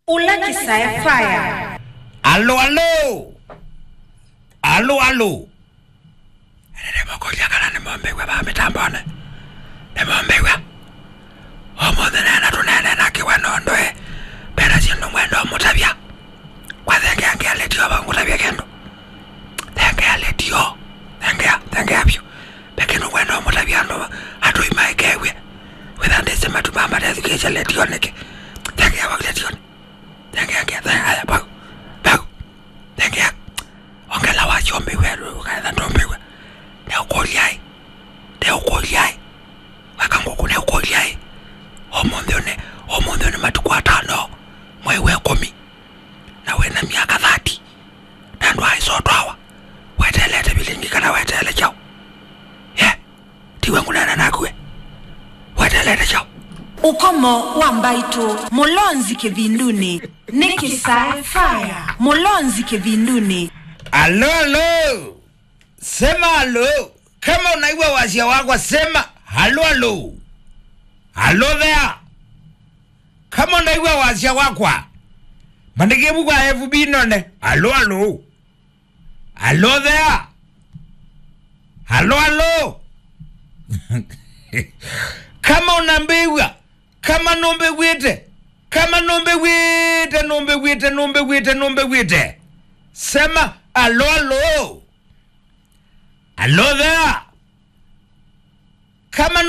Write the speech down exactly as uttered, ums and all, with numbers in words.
Ũla Kĩsae Fire. Alo, alo. Alo, alo. Ene nĩmũkũlya kana nĩmũmbĩw'a vaa mĩtambonĩ? Nĩmũmbĩw'a? Ũmũnthĩ neena tũneene na kĩwe nũndũ ĩ, ve na syĩndũ ngwenda ũmũtavya. Kwa thengea ngĩa letio vau ngũtavye kĩndũ. Thengea letio. Thengea, thengea vyũ. Ve kĩndũ ngwenda ũmũtavya andũ atũi maikew'e. Wĩtha ndĩsĩ matu mama ndethukĩĩsya letio nĩkĩ? Thengea vau letionĩ. Thengea, thengea, thengea, vau, vau. Thengea. Ongela wasyo mbĩw'a, ũkaetha ndũmbĩw'a. Neũkũlyaĩ. Neũkũlyaĩ. Weka ngũkũ neũkũlyaĩ. Ũmũnthĩ ũnĩ, ũmũnthĩ ũnĩ matukũ atano, mwei wa ĩkũmi. Na wĩ na myaka thirty. Na ndwaĩ sotwawa. Weteelete vilingi kana weteele kyaũ? Yeah. Tiwe ngũneena naku we. Weteelete kyaũ? Ũkomo wa mbaitũ, Mũlonzi Kĩvindunĩ. Nĩ Kĩsae Fire, Mũlonzi Kĩvindunĩ. Alo, alo. Sema alo. Kama unaigua wasya wakwa, sema alo, alo. Alo there. Kama unaigua wasya wakwa, mandĩkĩe vu kwa F B none. Alo, alo. Alo there. Alo, alo. Kama unambĩw'a, kama nũmbĩw'ĩte, kama nũmbĩw'ĩte, nũmbĩw'ĩte, nũmbĩw'ĩte, nũmbĩw'ĩte, sema alo, alo. Alo there. Kama